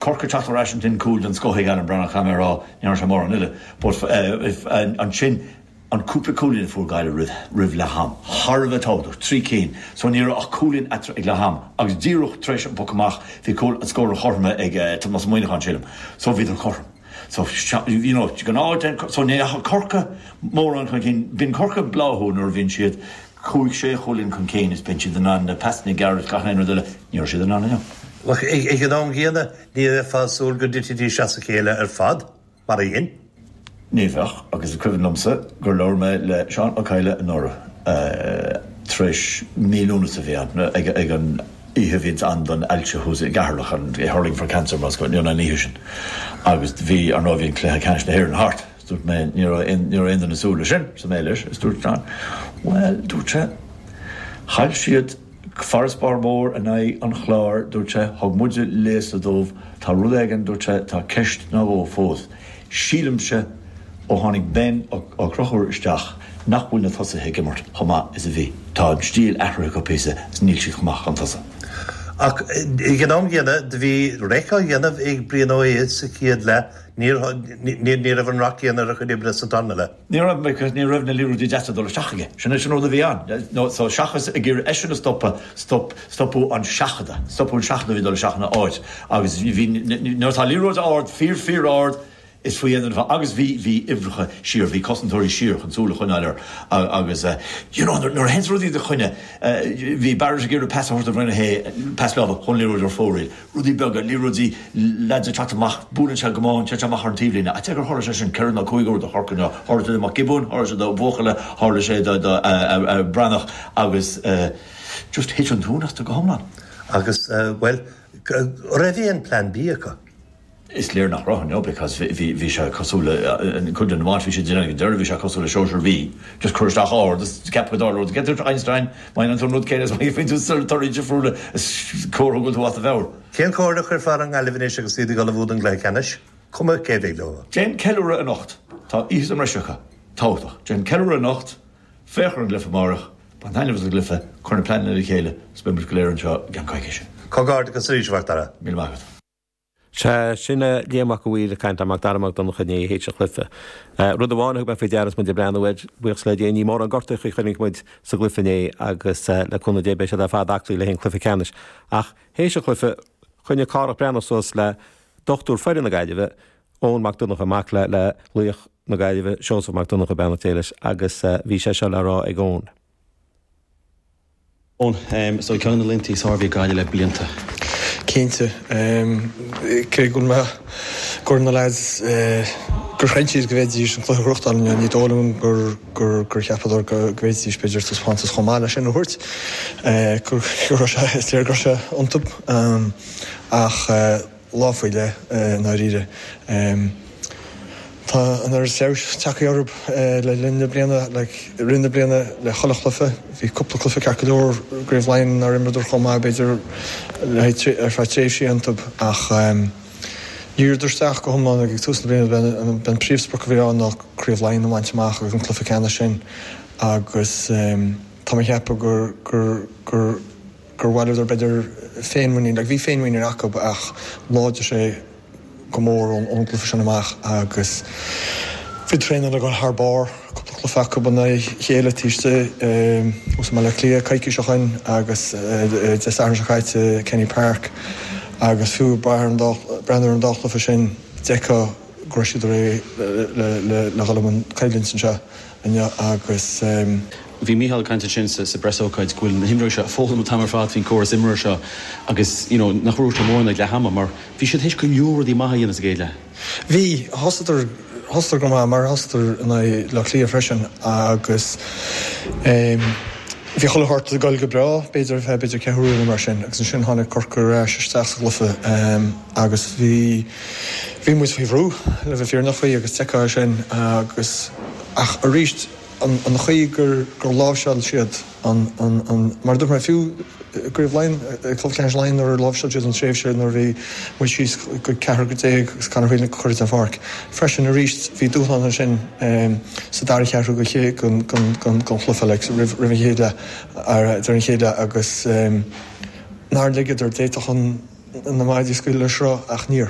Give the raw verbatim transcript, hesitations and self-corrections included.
Corcaigh teacht ar ais ansin cúl den scoth ag Alan Breathnach caithfidh mé a rá ní raibh sé mórán eile but ansin an cúpla cúilín a fuair Gaillimh roimh roimh leath am thar a bheith tábhachtach trí cinn so ní raibh ach cúilín eatarthu ag leath am agus díreach tar éis an poc amach bhí cúl an scór a chothromaithe ag Tomás Ó Muíneacháin sílim so bhíodar cothrom so you know gnáth so ní raibh Corcaigh mórán chun cinn bíonn Corcaigh ag bláthú nuair a bhíonn siad cúig sé chúilín chun cinn is bíonn siad in ann na pasanna gearra gach aon rud eile ní raibh siad in ann inniu. Ach ag an am gcéanna ní bheifeá ag súil go dtitfidís as a chéile ar fad, mar a dhein. Ní bheadh, agus is cuimhin liomsa gur labhair mé le Seán Ó Cadhla anuraidh tar éis mí Lúnasa a bhí ann, ag an oíche a bhíonns ann don ailse thuas i gCeatharlach, an Hurling for Cancer más cuimhin liom an oíche sin, agus bhí, ar ndóigh, bhí an cluiche ceannais na hÉireann thart. Dúirt mé, ní raibh aon, ní raibh aon duine ag súil leis sin, arsa mé leis, is dúirt Seán, bhuel, dúirt sé, chaill siad farasbarr mór in aghaidh an Chláir, dúirt sé, thug muide léasadh dóibh, tá rud éigin, dúirt sé, tá ceist nó dhó fós. Sílimse, ó tháinig Ben Ó Conchúir isteach, nach bhfuil na tosaithe ag imirt chomh maith is a bhí. Tá an stíl athraithe acu píosa is níl siad chomh maith chun tosaigh. Ach ag an am gcéanna, do bhí raic á dhéanamh ag Brian Ó hAodha sa chéad leath, ní raibh an rath céanna ar a chuid oibre sa darna leath. Ní raibh, because ní raibh na liathróidí deasa ag dul isteach aige. Sin é sin rud a bhí ann. No, so seachas ag iarraidh eisean a stopadh, stop, stopadh an seachadadh, stopadh an seachadadh a bhí ag dul isteach ina áit. Agus bhí, nuair atá liathróid ard, fíor, fíor ard, is faoi aon duine agus bhí, bhí uimhreacha siar, bhí cosantóirí siar chun súil a choinneáil air agus you know nuair a théanns rudaí i do choinne, bhí Barrett ag iarraidh pas a thabhairt do Bhrian Ó hAodha, pas láimhe chun liathróid ar fóraoil, rudaí beaga, liathróidí lads ag teacht amach, buaileann sé go maith, téann sé amach ar an taobhlíne, ach gur tharla sé sin ceithre nó cúig uair do Chorcaigh nó tharla sé do Mac Giobúin, tharla sé do bhuachalla, tharla sé do, do Breathnach agus just thit an tóin astu go hiomlán. Agus bhuel, raibh aon plean B acu? Is léir nach raibh, no, because bhí bhí sé cosúil le cuid den iomáint bhí siad ag déanamh ag an deireadh, bhí sé cosúil le sóisear B, just cur isteach ard is ceap go dtarlódh rud. Dúirt Einstein, má dhéanann tú an rud céanna is má gheibheann tú torthaí difriúla is comhartha go bhfuil tú as do mheabhair. Cén chomhairle a chuirfeá ar an nGaillimh anois agus iad ag ullmhú don gcluiche ceannais, cuma cé a bheidh leo? Déan ceiliúradh anocht. Tá oíche sa mbreis acu. Tábhachtach. Déan ceiliúradh anocht, féach ar an gcluiche amárach, bain taitneamh as an gcluiche, cuir na pleananna le chéile is beidh muid go léir anseo i gceann coicíse. Comhghairdeachas arís, a Mhac Dara. Míle maith agat. Sea, sin Liam Mac a' Mhaoil ag caint le Mac Dara Mac Donncha inné théis an chluiche. Rud amháin a thug mé faoi deara is muid ag breathnú air, buíochas le Dia, ní mórán gortuithe a chonaic muid sa gcluiche inné agus le cúnamh Dé beidh siad ar fad aclaí le haghaidh an cluiche ceannais. Ach théis an chluiche, choinnigh Cárthach Breathnach suas le dochtúir foireann na Gaillimhe, Eoin Mac Donncha, mac le le laoch na Gaillimhe, Seosamh Mac Donncha, beannacht Dé leis, agus bhí sé seo le rá ag Eoin. Eoin, so ceann de na laethanta is fearr a bhí ag Gaillimh le blianta. Cinnte. Cé go bhfuil mé gur na lads gur chreid siad go bhféadfaidís an cluiche a ghnóthachtáil inniu, ní dóigh liom gur gur gur cheapadar go bhféadfaidís b'fhéidir taispeántas chomh maith leis sin a thabhairt. Go raibh sé, is léir go raibh sé iontu. Ach lá faoi leith i ndáiríre. Tá an oiread feabhais tagtha orthu le linn na bliana, like i rith na bliana le chuile chluiche. Bhí cúpla cluiche ceart go leor i gCraobh Laighean nár imreadar chomh maith b'fhéidir le haghaidh ar feadh tréimhsí iontu ach dhíríodar isteach go hiomlán ag tús na bliana b'é an príomhsprioc a bhí ann ná Craobh Laighean a bhaint amach agus an cluiche ceannais sin agus tá mé ag ceapadh gur gur gur gur bhaileodar b'fhéidir féinmhuinín, like bhí féinmhuinín acu ach láidir sé go mór ón gcluiche sin amach agus bhí traenáil ag dul thar barr, cúpla cluiche acu in aghaidh a chéile taobh istigh thuas i mBaile Átha Cliath coicís ó shin agus Dé Sathairn seo caite i Kenny Park agus fiú breathnú ar an dá chluiche sin d'fheicfeá go raibh siad réidh le dhul i mbun coimhlint anseo inniu agus. Bhí Mícheál ag caint ansin sa bpreasócáid go bhfuil na himreoirí seo ag foghlaim an t-am ar fad faoin gcóras imeartha seo agus you know nach raibh sé mórán ag leath ama mar bhí siad théis go leor rudaí maithe a dhéanamh sa gcéad leath. Bhí, thosaíodar, thosaíodar go maith mar a thosaíodar in aghaidh Bleá Cliath freisin agus ehm bhí chuile shórt ag dul go breá b'fhéidir ar feadh b'fhéidir ceathrú uaire nó mar sin agus ansin tháinig Corcaigh ar ais isteach sa gcluiche ehm agus bhí, bhí muid faoi bhrú le bheith fírinneach faoi agus d'fheicfeá é sin agus ach arís an chaoi gur láimhseáil siad an, an, mar a dúirt mé, fiú i gCraobh Laighean, i gCluiche Ceannais Laighean nuair a láimhseáil siad an tréimhse nuair a bhí muid síos go ceathrar déag agus Conor Whelan curtha den pháirc freisin arís bhí dúshlán ansin sa dara ceathrú den chluiche like roimh an chéad leath, ar deireadh an chéad leath agus nár ligeadar, d'fhéadfadh an. na maidí a scaoileadh le sruth ach níor.